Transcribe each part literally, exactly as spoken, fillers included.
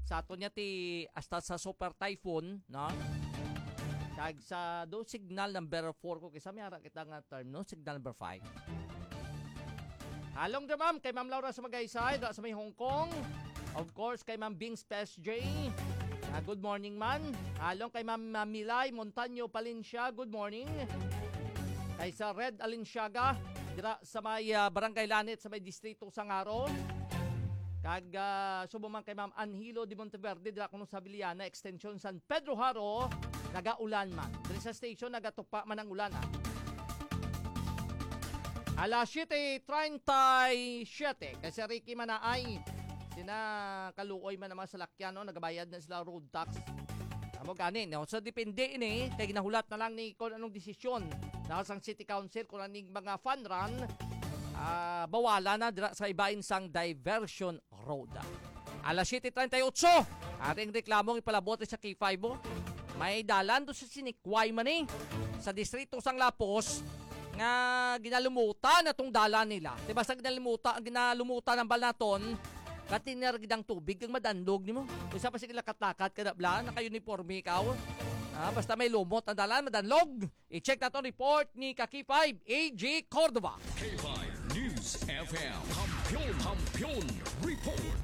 Sa aton niya ti hasta sa Super Typhoon, no? Kag sa do signal number four ko, kisa may ara kita nga term, no? Signal number five. Halong da, ma'am, kay Ma'am Laura sa Magaysay, da sa may Hong Kong. Of course, kay Ma'am Bings Pes J. Ah, good morning, man. Halong kay Ma'am, ah, Milay Montaño Palencia, good morning. Kay sa Red Alinsyaga, dira sa may, ah, Barangay Lanit, sa may Distrito Sangaro. Kag, ah, subo man kay Ma'am Anhilo de Monteverde, dira kuno sa Viliana Extension, San Pedro Jaro, nagaulan man. Diri sa station, nagatupa man ang ulan, ah. Alas siete treinta y siete, kay si Ricky Manaay, sina kaluoy man ang mga salakyan, no? Nagabayad na sila road tax. Amo gani, no? So, depende ini, kay ginahulat na lang ni kung anong desisyon na sang City Council, kung aning mga fun run, ah, bawala na dira sa ibain sang diversion road. Alas siete treinta y ocho, ating reklamong ipalabot sa K five mo. May dalan do sa Sinikway man eh, sa distrito sang Lapos, nga ginalumutan na tong dalan nila. Di ba sa ginalumutan, ginalumutan ang balaton, katiner gid ang tubig ang madanlog nimo. Isa pa sige lakat-lakat ka na bla, naka-uniforme ikaw. Ah, basta may lumot ang dalan, madanlog. I-check naton report ni ka K five, A J Cordova. K five News F M. Kampiyon, Kampiyon Report.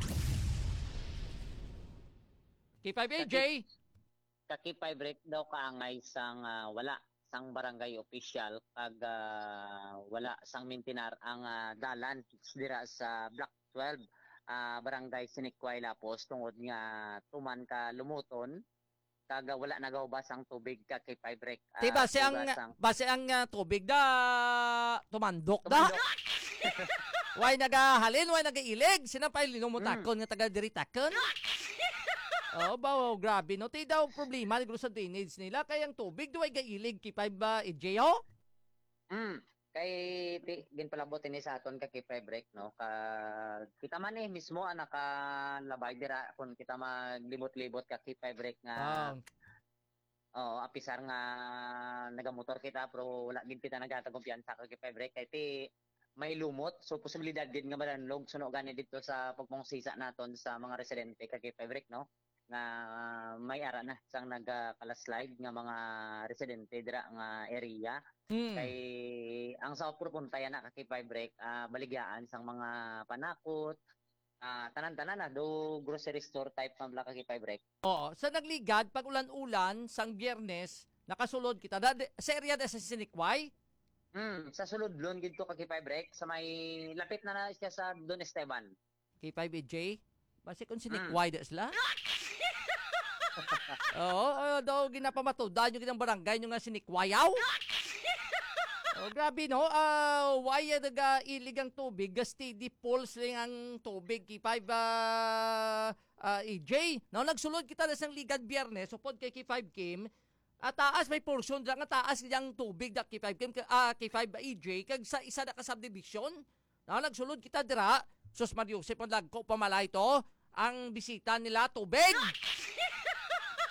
K five A J. Ka K five Rick daw kaangay sang, ah, wala sang barangay official kag, ah, wala sang mintinar ang, ah, dalan dira sa Block twelve, ah, Barangay Sinikway Lapos tungod nga tuman ka lumuton kag, ah, wala nagahubas ang tubig ka K five Rick. Ti, ah, base ang, hugas ang base ang, ah, tubig da tumandok da. Tumandok. Way nagahalin, way nagailig. Sina pa yung linumutakon Mm. nga taga diritakon? Oh, ba, oh, grabe, no? Ti daw problema, siguro sa drainage nila. Kaya ang tubig, do ay gailig, K five ba, A J, oh? Mm. Kay ti, ginpalabot ini sa aton ka K five Rick, no? Ka, kita man eh, mismo ang nakalabay dira kung kita maglibot-libot ka K five Rick nga, Ah. oo, apisar nga nagamotor kita, pero wala gid kita nagatagumpyansa ka K five Rick. Kay ti, may lumot, so posibilidad gid nga madanlog suno gani dito sa pagpangusisa naton sa mga residente ka K five Rick, no? Nga may ara na sang nagkalaslide nga mga residente dira nga area. Hmm. Kay ang sa Propunta yan na ka K five Rick, ah, baligyaan sang mga panakot, ah, tanan-tanan na, do grocery store type man bala ka K five Rick. Oo, sa nagligad, pag ulan-ulan, sang Biyernes, nakasulod kita. Da, di, sa area da sa Sinikway? Hmm, sa Suludlon gid to ka K five Rick, sa may lapit na na siya sa Don Esteban. K five A J? Basi kung Mm. sinikway da sila? Oo, ah, daw ginapamatudan yung ginang barangay nyo nga sinikwayaw. Oh, grabe, no? Ah, why, ah, nagailig ang tubig? Ga steady pulse lang ang tubig, K five, ah, ah, A J. No, nagsulod kita na sang Ligad Biyernes, upod kay K five Kim. Ah, taas may portion dira nga taas ang tubig da K five Kim, ah, K five A J, kag sa isa na ka subdivision. No, nagsulod kita dira. Sus, Mario Joseph, ang lagko, pamalay to. Ang bisita nila, tubig.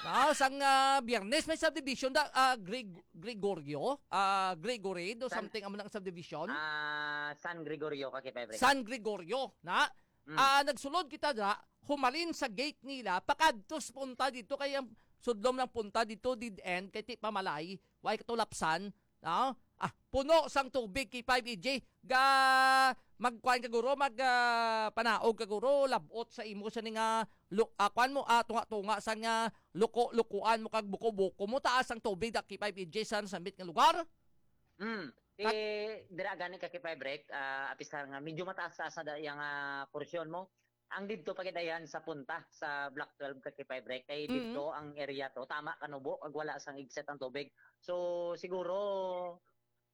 No, sang, ah, Biyernes, may subdivision da, ah, Greg-, Gregorio, ah, Gregory, do San something amo nang subdivision. Ah, San Gregorio ka, Kay Pebre. San Gregorio, na? Mm. Ah, nagsulod kita dira, humalin sa gate nila, pakadtos punta dito, kay ang sudlom lang punta dito, dead end, kay ti pamalay, way katulapsan, no? Ah, puno sang tubig, K five A J, ga, magkuan ka guro, mag, ah, panaog ka guro, labot sa imo sa ni nga, lu-, ah, kuan mo, ah, tunga-tunga sa nga, luko-lukuan mo kag buko-buko mo, taas ang tubig, da K five A J sa sambit nga lugar. Mm. Kat- Eh, dira gani ka K five Break, ah, apisar nga medyo mataas-taas na da yang, ah, porsyon mo. Ang didto pa gid ayan sa punta sa Block twelve ka K five Break, kay Mm. didto ang area to, tama kanubo, ag wala sang igset ang tubig. So, siguro,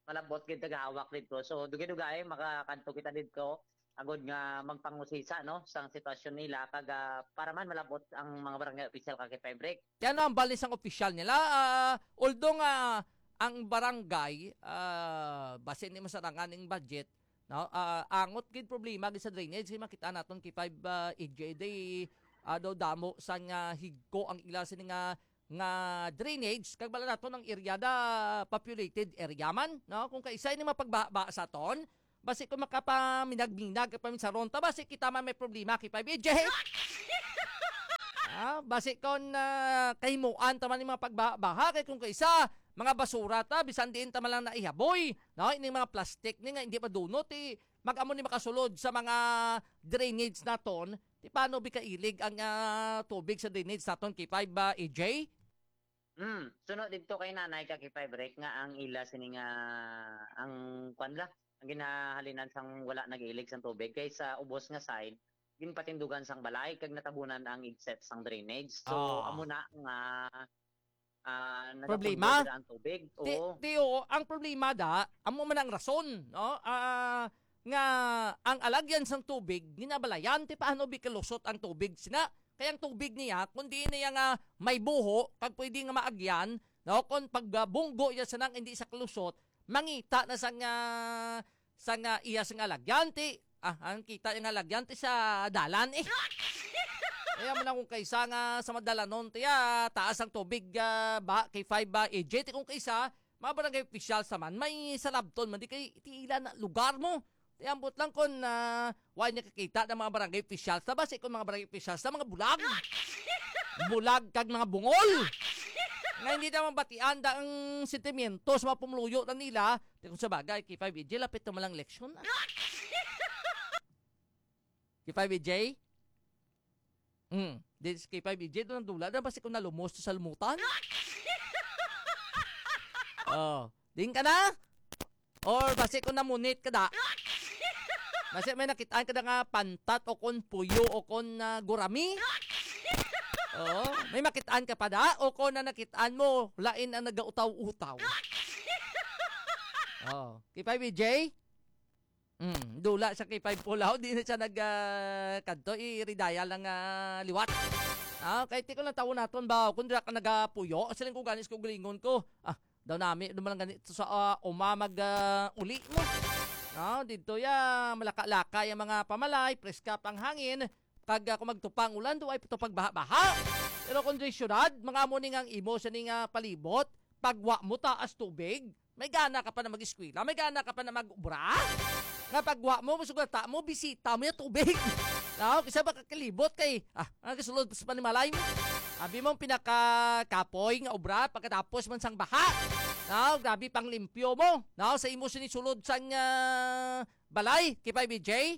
malabot gid tagahawak didto. So, dugay-dugay, makakadto kita didto, agod nga magpangusisa, no, sang sitwasyon nila, kag, ah, para man malabot ang mga barangay official ka K five Break. Kaya ano ang balis ang official nila? Ah, although nga ang barangay, ah, basin ni masarangan ang budget, no? Ah, angot gid problema gid sa drainage, kay makita naton K five, ah, A J day, ah, daw damo sa nga higko ang ila sini nga, nga drainage, kag bala naton ang area da populated area man, no? Kung kaisa ini mapagbaha sa aton, basi kung makapaminag-minag ka paminsaron ta, basi kita man may problema kay five A J. Ah, basi kon, ah, kahimuan ta man ni mga pagbaha-baha, kay kung kaisa, mga basura ta, bisan diin ta man lang naihaboy, no? Ining mga plastic ni nga hindi madunot, eh, mag-amo ni makasulod sa mga drainage naton, ti paano bi kailig ang, ah, tubig sa drainage naton, K five, ah, A J? Hmm, sunod didto kay Nanay ka K five Rek nga ang ila sini nga, ang kwan la, ang ginahalinan sang wala nag-ilig sang tubig kay sa ubos nga side, ginpatindugan sang balay kag natabunan ang igset sang drainage. So, Oh. amo na nga, ah, Problema? nagapundol dira ang tubig. Ti, Oo. ti, oo, ang problema da, amo man ang rason, no? Ah, nga ang alagyan sang tubig, ginabalayan, ti paano bi kalusot ang tubig sina? Kay ang tubig niya, kung di niya nga may buho, kag pwede nga maagyan, no? Kung pagbunggo niya sa nang hindi sa kalusot, mangita na sa nga, sa nga iya sa nga alagyan, ti, ah, ang kita niya nga alagyan, ti sa dalan, eh. Kaya mo na kung kaisa nga sa madalanon, ti, ah, taas ang tubig, ah, ba, K five ba, A J, ti kung kaisa, mga barangay officials naman, may salabton man, di kay, ti ila na lugar mo. Ti ambot lang kung, ah, wa niya kakita ng mga barangay officials. Ta basi kung mga barangay officials na mga bulag. Bulag kag mga bungol. Nga hindi naman batian da ang sentimiento sa mga pumuluyo na nila. Ti kung sa bagay, K five A J, lapit na malang eleksyon. Ah. K five A J? Mm. Di, si K five A J, doon ang dula. Doon basi kung nalumos to sa lumutan. Oh. Din ka na? Or basi kung namunit ka da? Basi may nakitaan ka da nga pantat o kon puyo o kon, ah, gurami? Oo. May makitaan ka pa da? O kon na nakitaan mo, lain ang nagautaw-utaw. Oh. K five A J? Mm, dula sa K five Pulaw, di na siya nag, ah, kadto, i-redaya lang, ah, liwat. Ah, kay ti ko lang tawo naton ba, kung dira ka nagapuyo, siling ko ganis ko galingon ko. Ah, daw nami, duman lang ganito sa, ah, uma mag, ah, uli mo. Ah, dito ya, malaka-laka yung mga pamalay, preska pang hangin, kag, ah, kung magtupang ulan, do ay ito pagbaha-baha. Pero kung di syudad, mga amo ni nga ang imo sa ni nga palibot, pagwa mo taas tubig, may gana ka pa na mag-eskwela? May gana ka pa na mag-obra? Nga pagwa mo, masugata mo, bisita mo yung tubig. No? Kasi ba kakalibot kay, ah, ang kasulod sa panimalay mo. Abi mo ang pinakakapoy nga obra pagkatapos man sang baha. No? Grabe pang limpyo mo. No? Sa imo sinisulod sang, ah, balay, K five B J?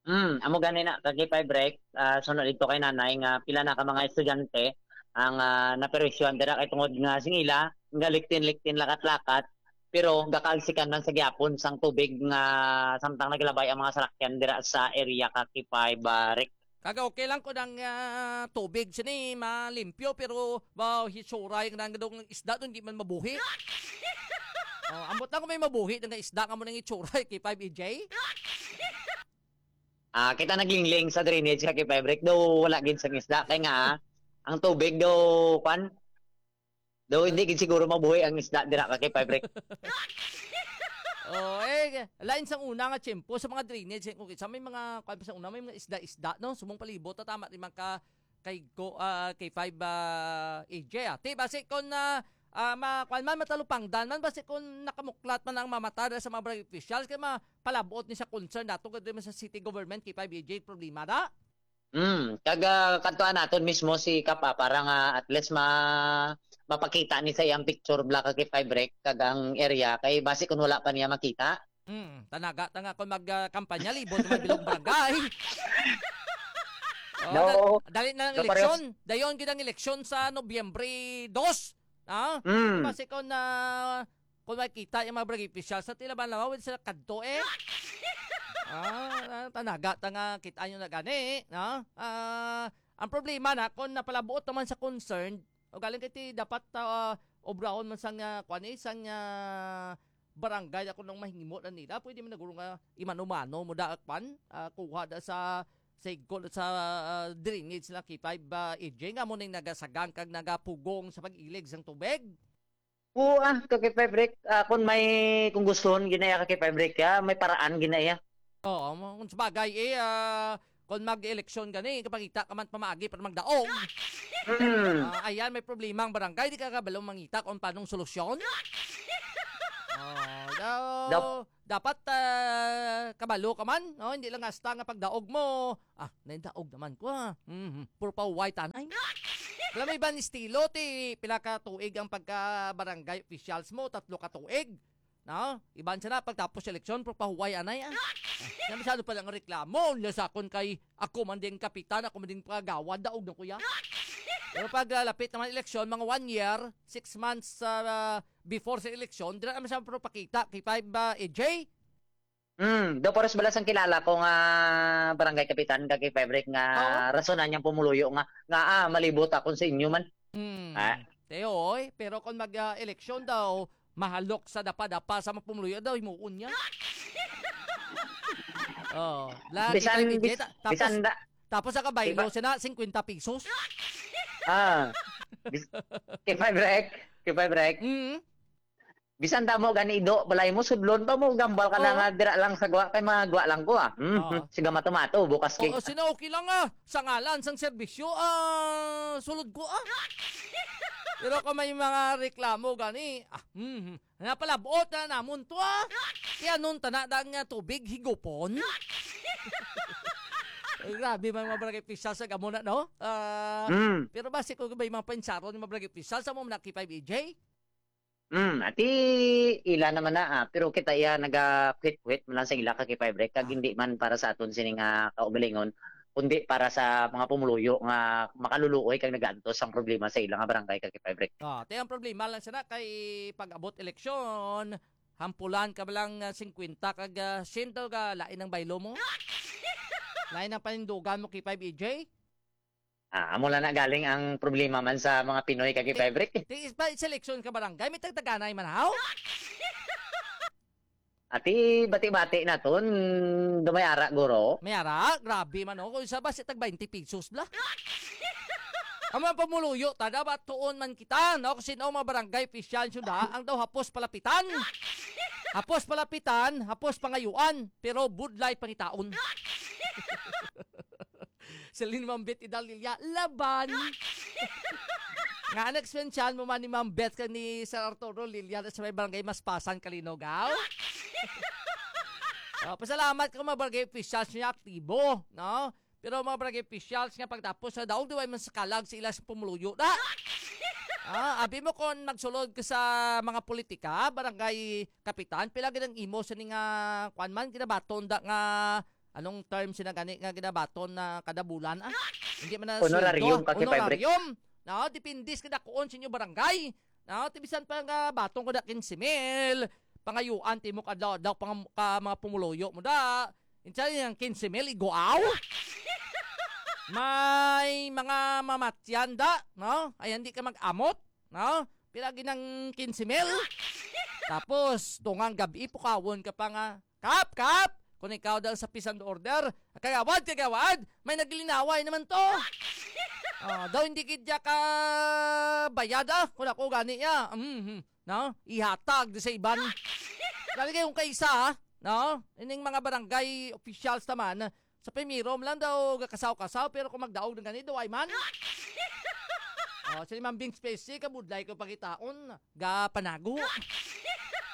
Hmm, amo gani na, kag K five Rek, ah, sunod dito kay nanay nga pila na ka mga estudyante ang, ah, naperisyohan dira kay tungod nga sing ila, nga liktin-liktin lakat-lakat, pero gakaalsikan man sa gihapon sang tubig nga samtang naglabay ang mga salakyan dira sa area ka K five, ah, Rek. Kaga okay lang ko ng, ah, tubig sini malimpyo pero wow, hitsura yung nang dong isda doon di man mabuhi. Oh, ambot lang kung may mabuhi nga isda nga mo nang itsura, K five E J. Ah, kita naglingling sa drainage ka K five Rek, daw wala gid sang isda kay nga ang tubig daw kwan, daw hindi gid siguro mabuhi ang isda dira ka K five Rek. Oh, eh, lain sang una nga tiyempo sa mga drainage, eh, kung sa may mga kwan pa sa una, may mga isda-isda, no? Sumong palibot, ta tama di man ka kay go, ah, K five, ah, A J, ah. Ti, basi kon, ah, ah, ma-, kwan man, matalupangdan man, basi kon nakamuklat man ang mamata sa mga barangay officials, kay mapalabot ni sa concern nato, kay man sa city government, K five A J, problema da. Hmm, kag, ah, kadtuan naton mismo si Kap, ah, para nga at least ma-, mapakita ni sa iyang picture, bla ka K five Rek, kag ang area, kay basi kon wala pa niya makita. Hmm, tanaga ta nga kon mag, ah, kampanya, libot man bilog barangay. Oh, No. da-, dali na ang No, parehas. eleksyon. Dayon gid ang eleksyon sa Nobyembre dos. Ah? Hmm. Basi kon na, kon makita yung mga barangay officials, sa tila ba naman, sila kadto eh. Ah, ah, tanaga ta nga, kita nyo na gani, no? Ah, ang problema na, kung napalabuot naman sa concerned, o galing kay ti dapat, ah, obrahon man sang, ah, kwan eh, sang, ah, barangay ako nang mahimo na nila, pwede man naguro nga imano-mano mo da, kwan, ah, kuha da sa, sa igkol, sa, ah, drainage na K five, ah, A J, nga mo ning nagasagang kag nagapugong sa pag-ilig sang tubig. Oo, ah, ka K five Rek, ah, kung may, kung gustuhon, ginaya ka K five Rek, ah, may paraan, ginaya. Oo, mo-, kung sabagay, eh, ah, kung mag-eleksyon gani, kapangita ka man pamaagi para magdaog. Hmm. Ah, ayan, may problema ang barangay, di ka kabalo mangita kung paanong solusyon. Oh, daw, Dap- Dapat, ah, kabalo ka man, no? Hindi lang hasta nga pagdaog mo, "Ah, naindaog naman ko, ah. Mhm, puro pa white, anay." Alam mo, iban estilo, ti pila ka tuig ang pagka-barangay officials mo, tatlo ka tuig, no? Iban siya na, pagtapos sa eleksyon, puro pa huway, anay, ah. Ah, na masyado pa lang reklamo, niya sa akon kay ako man din kapitan, ako man din pagawad, daog na kuya. Pero pag, ah, lapit naman eleksyon, mga one year, six months, ah, before sa eleksyon, dira naman siya puro pakita, K five, ah, A J? Hmm, do pares bala sang kilala ko nga barangay kapitan kag kay Fabric nga Oo. Rason na niyang pumuluyo nga, nga, ah, malibot akon sa inyo man. Hmm. Ah. Te, oy, pero kung mag, ah, eleksyon daw, mahalok sa dapa-dapa sa mga pumuluyo daw, himuon niya. Oh, lagi Bisan, pa yung bis-, Vegeta. Tapos, bisan da-, tapos sa kabaylo Iba- siya na, cinquenta pesos. Ah. Bis-, K five Rec, K five Rec. Mm. Bisan damo gani ido, balay mo, sudlon pa mo, gambal ka na Ah. nga, dira lang sa gwa, kay mga gwa lang ko, ah. Hmm, Oo. hmm. Siga mato-mato, bukas kay Oo, sino okay lang, ah. Sa ngalan, sang serbisyo, ah, sulod ko, ah. Pero kung may mga reklamo gani, ah, hmm, hmm. Napalabot na namon to, ah. Kaya nun, tana da nga tubig, higupon. Ay, grabe man mga barangay official sa gamo na, no? Ah, Mm. Pero basi ko ba yung mga painsaron yung mga barangay official sa mo na K five A J? Mm, ati ila naman na, ah, pero kita iya nagakwit-kwit man lang sa ila ka K five Rec, kag Ah. hindi man para sa aton sini nga kaugalingon, kundi para sa mga pumuluyo nga makaluluoy kag nagaantos ang problema sa ila nga barangay ka K five Rec. Ah, te, ang problema lang sana kay pag-abot eleksyon, hampulan ka ba lang, ah, singkwenta kag, ah, siyento ka lain ang baylo mo? Lain ang panindugan mo, K five A J? Ah, amo lang na galing ang problema man sa mga Pinoy kag Ti-, K five Rec. Ti, is ba, seleksyon ka barangay? May tagtaganay man, haw? Ati, bati-bati naton, gamay ara, guro. May ara, grabe man, oh. Kung isa ba, si tag twenty pesos, bla? Ang mga pamuluyo, ta, dapat tuon man kita, no? Kasi no, mga barangay official, yun, ha? Ang daw hapos palapitan. Hapos palapitan, hapos pangayuan, pero budlay pangitaon. Celine Mambit Idal Lilia, laban. Nga, ano, eksperyensyahan mo man ni Ma'am Beth kag ni Sir Arturo Lilia sa may barangay Maspasan, Kalinog, aw? Oh, pasalamat ko mga barangay officials niya aktibo, no? Pero mga barangay officials nga pagtapos sa daog, di ba, man sa kalag sa ila sa pumuluyo na? Ah, abi mo kung magsulod ka sa mga politika, barangay kapitan, pila gid ang imo sa ni nga, kwan man, ginabaton da nga, anong term sina gani nga ginabaton na kada bulan, ah? Hindi man na Honorarium sweldo, ka, Kay Fabric. Honorarium. No, depende sa kadakuon sa inyo barangay. No, ti bisan pa nga baton ko na quince mil, pangayuan ti mo kadlaw-adlaw pang, ka mga pumuluyo mo da. Insa yung quince mil, iguaw? May mga mamatyan da, no? Ay, hindi ka mag-amot, no? Pila ginang quince mil? Tapos, tungang gabi, pukawon ka pa nga, "Kap, kap! Kung ikaw dahil sa peace and order, kagawad, kagawad, may nagilinaway naman to." Ah, daw hindi gid ya ka bayad, ah, kung ako gani ya. Mhm. No? Ihatag di sa iban. Lagi kayong kaisa, ah, no? Ining mga barangay officials naman, sa primero man lang daw gakasaw-kasaw, pero kung magdaog ng ganito, ay man. Oh, si Ma'am Bing Spacey, kabudlay ko pagitaon, ga panago.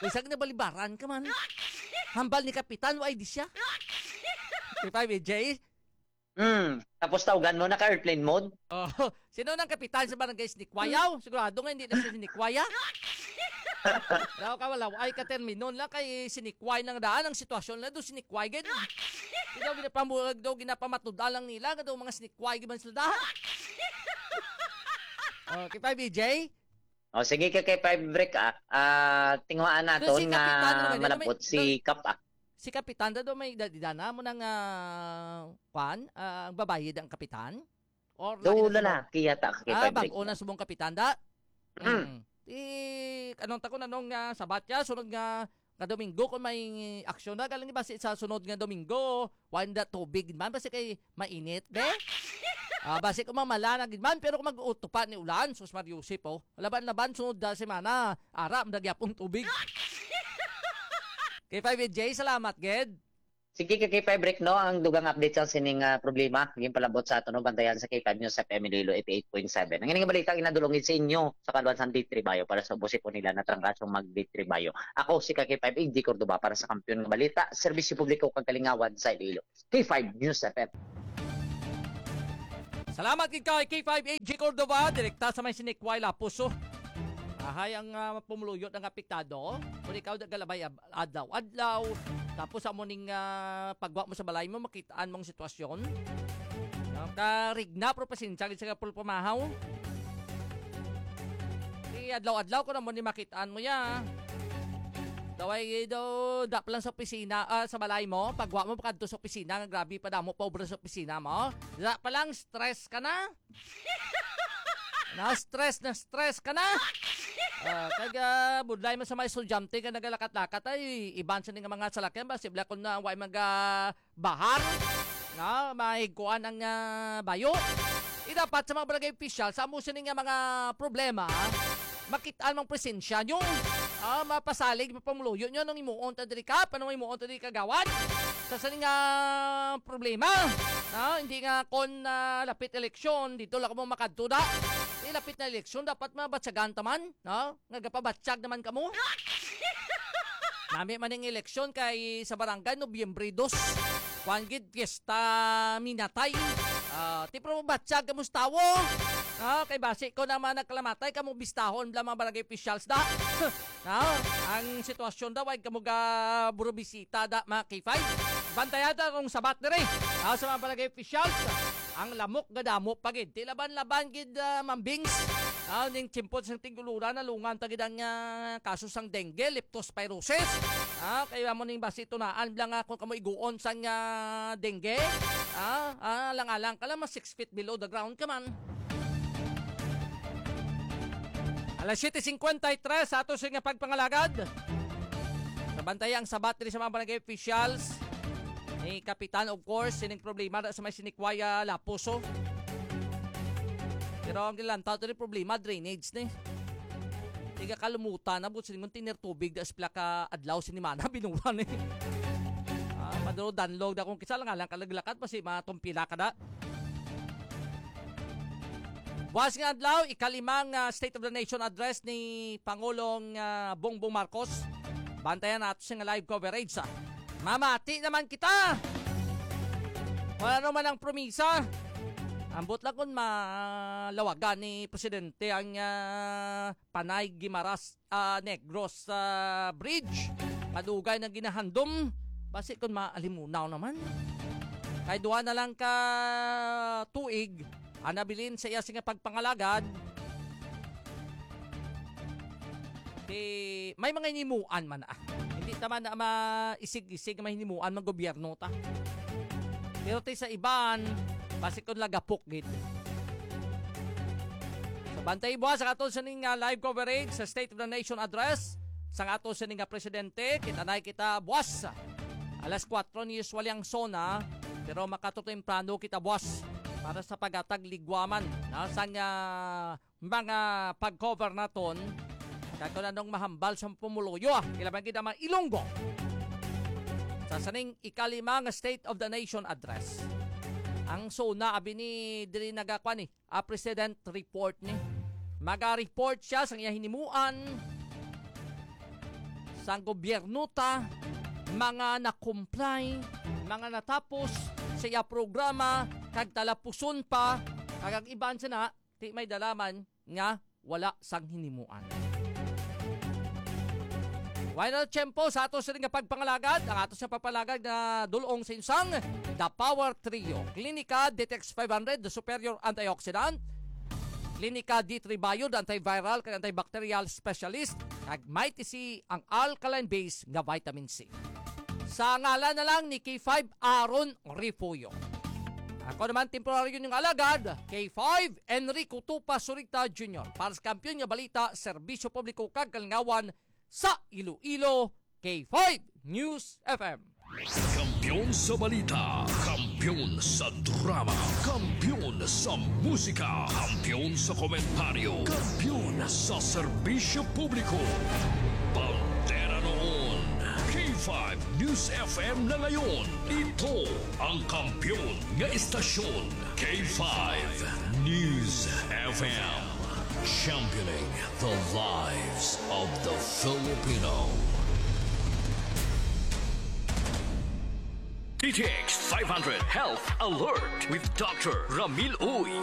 Bisag nabalibaran ka man. Hambal ni Kapitan, wa di siya. Di ba, B J? Hmm. Tapos tawgan mo, naka-airplane mode? Oh, sino nang kapitan sa barangay Sinikwayaw? Sigurado nga hindi na si Sinikwaya. Daw ka wala, ay ka termino lang kay Sinikway nang daan ang sitwasyon na do Sinikway gid. Daw ginapamulag daw ginapamatuda lang nila nga daw mga Sinikway gid man sila da. Oh, kita B J? O, sige, kay, kay five break, ah. Ah, tinguhaan So, naton si nga Kapitan, ano, malabot may, si Kap, ah. Si Kapitan, daw may edad, edad na mo nang, ah, kwan, ah, ang babayi da ang Kapitan? Or Do lain na subong? Lalaki yata kay Ah, five break. Bag-o na subong Kapitan, da? Mm. Mm. Di, anong takon, anong, ah, sabat ya? Sunod nga, nga Domingo, kung may aksyon na, galing ba si, sa sunod nga Domingo? Wala na tubig man, basi kay mainit, be? Ah, basi kung mamala na gid man, pero kung mag-utupa ni ulan, sus Mario Joseph, oh. Laban-laban, sunod na semana, ara, ang dagyapong tubig. Kay five J, salamat, gid. Sige ka K five Rick, no, ang dugang update sa sining, ah, problema, yung palabot sa ato, no, bantayan sa K five News F M Iloilo eighty-eight point seven. Ang ining balita, ginadulungin sa inyo sa kaluan sa D three Bayo para sa ubusipon nila na trangrasong mag D three Bayo. Ako si ka K five A G Cordova para sa Kampiyon nga Balita, Serbisyo Publiko kag Kalingawan sa Iloilo. K five News F M. Salamat gid kay K five A G Cordova, direkta sa may Sinikway, Lapuso. Ahay ang, ah, pumuluyo ng apektado. Kung ikaw nagalabay ab-, adlaw-adlaw, tapos amo ning, ah, pagwa mo sa balay mo, makitaan mong sitwasyon. No? Karigna, pero pasensya gid sa kapulpamahaw. Di adlaw-adlaw ko na mo ni makitaan mo ya. Daway do, da pa lang sa opisina, ah, sa balay mo, pagwa mo pakadto sa opisina, nga grabe pa damo pa obra sa opisina mo. Da pa lang stress ka na. Na stress, na stress ka na. Ah, kag, ah, budlay man sa mga estudyante nga nagalakat-lakat ay iban sa ning mga salakyan ba sibla kon na way maga bahar, no? Mahigkuan ang, ah, bayo. Di dapat sa mga barangay official, sa amo sini nga mga problema, makitaan mang presensya nyo. Ah, mapasalig, mapamuluyo nyo, anong imuon ta diri ka, anong imuon ta diri kagawad? Sa sini nga problema, no? Hindi nga kon, ah, lapit eleksyon, dito lang mo makadto da. Di lapit na eleksyon, dapat mabatsagan taman, no? Nga gapabatsyag naman kamo. Nami man ning eleksyon kay sa barangay, Nobyembre dos. Kuan gid, piyesta minatay. Ah, ti pro batsyag kamo sa tawo. Ah, kay basi ko naman nagkalamatay kamo bistahon bla mga barangay officials da. Ah, ang sitwasyon daw ay kamo ga burubisita da mga K five. Bantayan ta kung sabat diri. Ah, sa mga barangay officials, ang lamok gadamo pa gid. Ti laban-laban gid, ah, mambings. Ah, ning tiempo sang tiguluran, nalungan ta gid ang, ah, kaso sang dengue, leptospirosis. Ah, kay amo ning basi tunaan lang nga kung kamo iguon sang, ah, dengue. Ah, ah, lang-alang ka lang, mas six feet below the ground ka man. Alas siyete cincuenta y tres sa ato sa nga pagpangalagad. Sa bantay ang sabat diri sa mga barangay officials. Ni Kapitan, of course, sining problema na sa may Sinikwaya, Lapuso. Pero ang gilantaw to ni problema, drainage ni. Tiga kalumutan na, but siningon tiner tubig da sa pila ka adlaw, sinimana, binura ni. Ah, maduro danlog da kung kisa lang alang kalaglakat, basi matumpila ka da. Buwas nga adlaw, ikalimang, ah, State of the Nation Address ni Pangulong, ah, Bongbong Marcos. Bantayan nato siya nga live coverage, ah. Mamati naman kita! Wala naman ang promisa. Ambot lang kung malawagan ni Presidente ang, ah, Panay Guimaras, ah, Negros, ah, Bridge. Madugay na ginahandom. Basi kung maalimunaw naman. Kay duha na lang ka tuig, ang nabilin sa iya sing pagpangalagad. Ti, may mga hinimuan man, ah. Hindi ta man na maisig-isig nga may hinimuan ng gobyerno ta. Pero ti sa iban, basi kung lagapok gid. So, bantay buwas ang aton sining, ah, live coverage sa State of the Nation Address sang aton sining nga presidente. Kita na kita buwas. Alas kuwatro ni usually ang sona, pero makatutemprano kita buwas para sa paghatag ligwaman, na, sang, ah, mga pag-cover naton. Kag kung anong mahambal sa pumuluyo, ah, ilaban gid ang mga Ilonggo. Sa sining ikalima nga State of the Nation Address. Ang sona, abi ni, diri nagakwa ni, ah, President Report ni. Maga-report siya sang iya hinimuan, sang gobyerno ta, mga na-comply, mga natapos sa iya programa, kag talapuson pa, kag ang iban sana, ti may dalaman nga wala sang hinimuan. Wala na tiyempo sa ato sini nga pagpangalagad. Ang ato sa pagpangalagad nga dulong sa insang The Power Trio. Clinica Detox five hundred, the superior antioxidant. Clinica D three Bio, the antiviral kag antibacterial specialist. Kag Mighty C, ang alkaline base nga vitamin C. Sa ngalan na lang ni K five Aaron Refugio. Ako naman, temporaryo niyong alagad, K five Enrico Tupa Surita Junior, para sa Kampiyon nga Balita, Serbisyo Publiko kag Kalingawan sa Iloilo, K five News F M. Kampiyon sa balita, kampiyon sa drama, kampiyon sa musika, kampiyon sa komentaryo, kampiyon sa serbisyo publiko. Bandera noon, K five five News F M na ngayon. Ito ang kampiyon nga istasyon, K five News F M. Championing the lives of the Filipino. D T X five hundred Health Alert with Doctor Ramil Uy.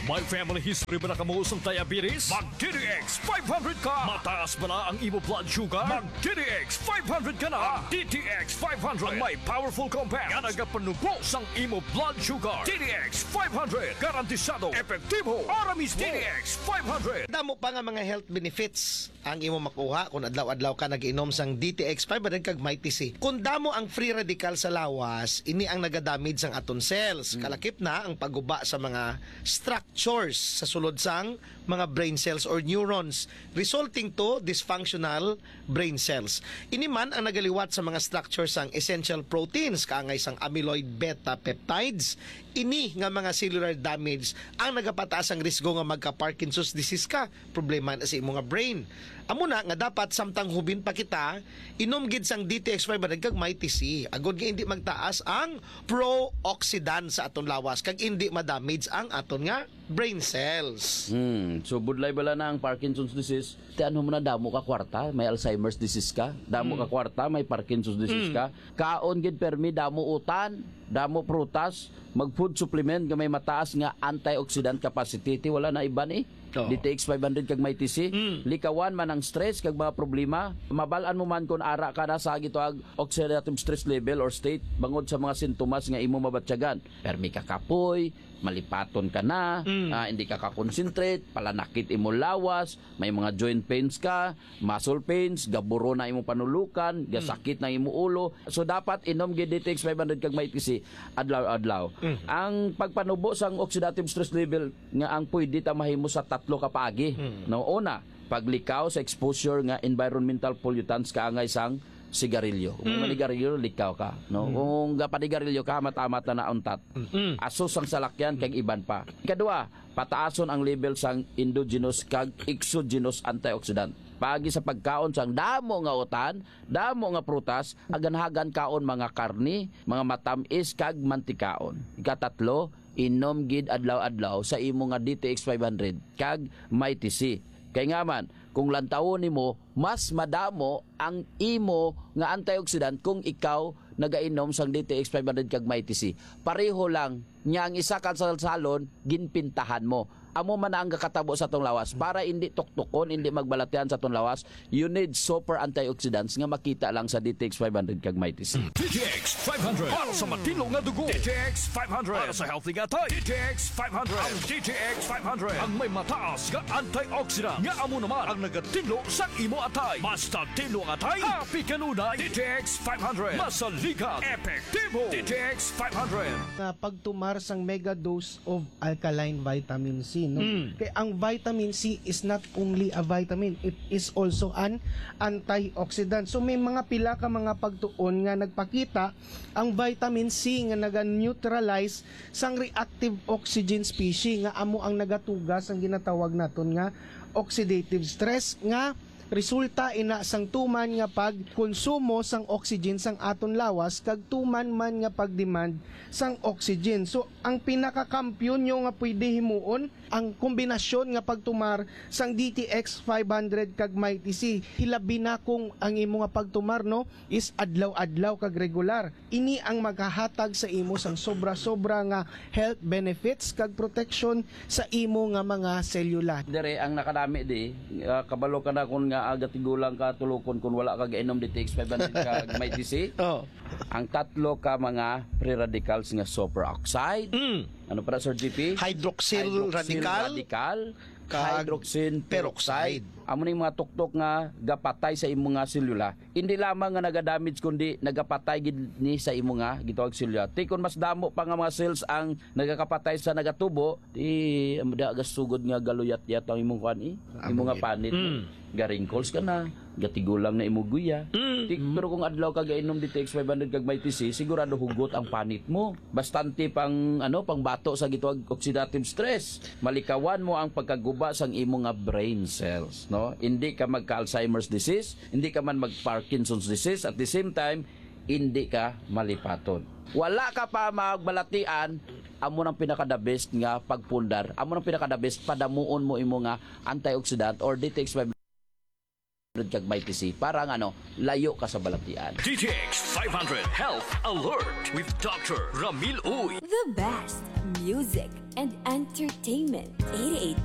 May family history ba na kamo sang diabetes? Mag D T X five hundred ka! Mataas ba na ang imo blood sugar? Mag D T X five hundred ka na! Ang D T X five hundred ang may powerful compound nga nagapanubo sang imo blood sugar. D T X five hundred, garantisado, epektibo, ora mismo. D T X five hundred. Damo pa nga mga health benefits ang imo makuha kung adlaw-adlaw ka nag-inom sang D T X five hundred kag Mighty C. Kung damo ang free radical sa lawas, ini ang nagadamage sang aton cells. Kalakip na ang pagguba sa mga structures sa sulod sang mga brain cells or neurons, resulting to dysfunctional brain cells. Ini man ang nagaliwat sa mga structure sang essential proteins, kaangay sang amyloid beta peptides. Ini nga mga cellular damage ang nagapataas ang risgo nga magka-Parkinson's disease ka. Problema na sa imo nga brain. Amo na nga dapat samtang hubin pa kita, inom gid sang D T X five hundred kag Mighty C, agod nga hindi magtaas ang pro-oxidant sa aton lawas kag hindi ma-damage ang aton nga brain cells. Hmm, so budlay bala na ang Parkinson's disease. Ti ano mo na, damo ka kwarta, may Alzheimer's disease ka, damo ka kwarta, may Parkinson's disease ka. Kaon gid permi, damo utan, damo prutas, mag food supplement nga may mataas nga antioxidant capacity. Ti wala na iban eh. Oo. D T X five hundred kag Mighty C, likawan man ang stress kag mga problema. Mabal-an mo man kon ara ka na sa gitawag oxidative stress level or state bangod sa mga sintomas nga imo mabatyagan. Permi ka kapoy, malipaton ka na, ah, hindi ka ka-concentrate, palanakit imo lawas, may mga joint pains ka, muscle pains, gaburo na imo panulukan, gasakit na imo ulo. So dapat inom gid D T X five hundred kag Mighty C adlaw-adlaw. Ang pagpanubo sang oxidative stress level nga ang pwede ta mahimo sa tatlo ka paagi. No, una, paglikaw sa exposure nga environmental pollutants kaangay sang sigarilyo. Kung manigarilyo, likaw ka, no? Kung gapanigarilyo ka, hamat-hamat na nauntat. Aso sang salakyan kag iban pa. Ikadua, pataason ang level sang endogenous kag exogenous antioxidant. Paagi sa pagkaon sang damo nga utan, damo nga prutas, hagan-hagan kaon mga karni, mga matamis kag mantikaon. Ikatatlo, inom gid adlaw-adlaw sa imo nga D T X five hundred kag Mighty C. Kay nga man, kung lantawon nimo, mas madamo ang imo nga antioxidant kung ikaw nagainom sang D T X five hundred kag Mighty C. Pareho lang niya ang isa ka salsalon, ginpintahan mo. Amo man na ang gakatabo sa atong lawas. Para hindi tuktukon, hindi magbalatian sa atong lawas, you need super antioxidants nga makita lang sa D T X five hundred kag Mighty C. D T X five hundred para sa matino nga dugo. D T X five hundred para sa healthy nga atay. D T X five hundred. Ang D T X five hundred ang may mataas nga antioxidant nga amo naman ang nagatinlo sa imo atay. Mas tatino ang atay, happy kanunay. D T X five hundred. Masaligan, epektibo. D T X five hundred. Nga pagtumar sang mega dose of alkaline vitamin C, no? Mm. Kay ang vitamin C is not only a vitamin, it is also an antioxidant. So may mga pila ka mga pagtuon nga nagpakita ang vitamin C nga naga-neutralize sang reactive oxygen species nga amo ang nagatuga sang ginatawag naton nga oxidative stress nga resulta ina sang tuman nga pagkonsumo sang oxygen sang aton lawas kag tuman man nga pag-demand sang oxygen. So, ang pinakakampiyon nyo nga pwede himuon, ang kombinasyon nga pagtumar sang D T X five hundred kag Mighty C. Hilabi na kung ang imo nga pagtumar, no, is adlaw-adlaw kag regular. Ini ang maghahatag sa imo sang sobra-sobra nga health benefits kag protection sa imo nga mga selula. Dire ang nakanami di, ah, kabalo ka na kun nga aga tigulang ka tulukon kun wala ka gainom D T X five hundred kag Mighty C. Oh. Ang tatlo ka mga free radicals nga superoxide. Mm. Ano para, Sir G P? Hydroxyl radical. Radical, kag hydroxyl peroxide. Amo ning mga tuktok nga gapatay sa imong nga selula. Hindi lamang nga nagadamage, kundi nagapatay gid ni sa imo nga gitawag selula. Ti kon mas damo pa nga mga cells ang nagakapatay sa nagatubo, ti amo da gasugod nga galuyat-yat ang imong kuan, eh. Imo nga panit. Mm. Ga-wrinkles ka na, Gatigulang na imo guya. Ti- pero kung adlaw ka gainom D T X five hundred kag Mighty C, sigurado hugot ang panit mo. Bastante pang, ano, pang bato sa gitawag oxidative stress. Malikawan mo ang pagkaguba sang imo nga brain cells, no? Hindi ka magka-Alzheimer's disease, hindi ka man mag-Parkinson's disease, at the same time, hindi ka malipaton. Wala ka pa magbalatian, amo nang pinaka the best nga pagpundar. Amo nang pinaka the best, padamuon mo imo nga antioxidant or D T X five kag Mighty C para nga, ano, layo ka sa balatian. D T X five hundred Health Alert with Doctor Ramil Uy. The best music and entertainment. eighty-eight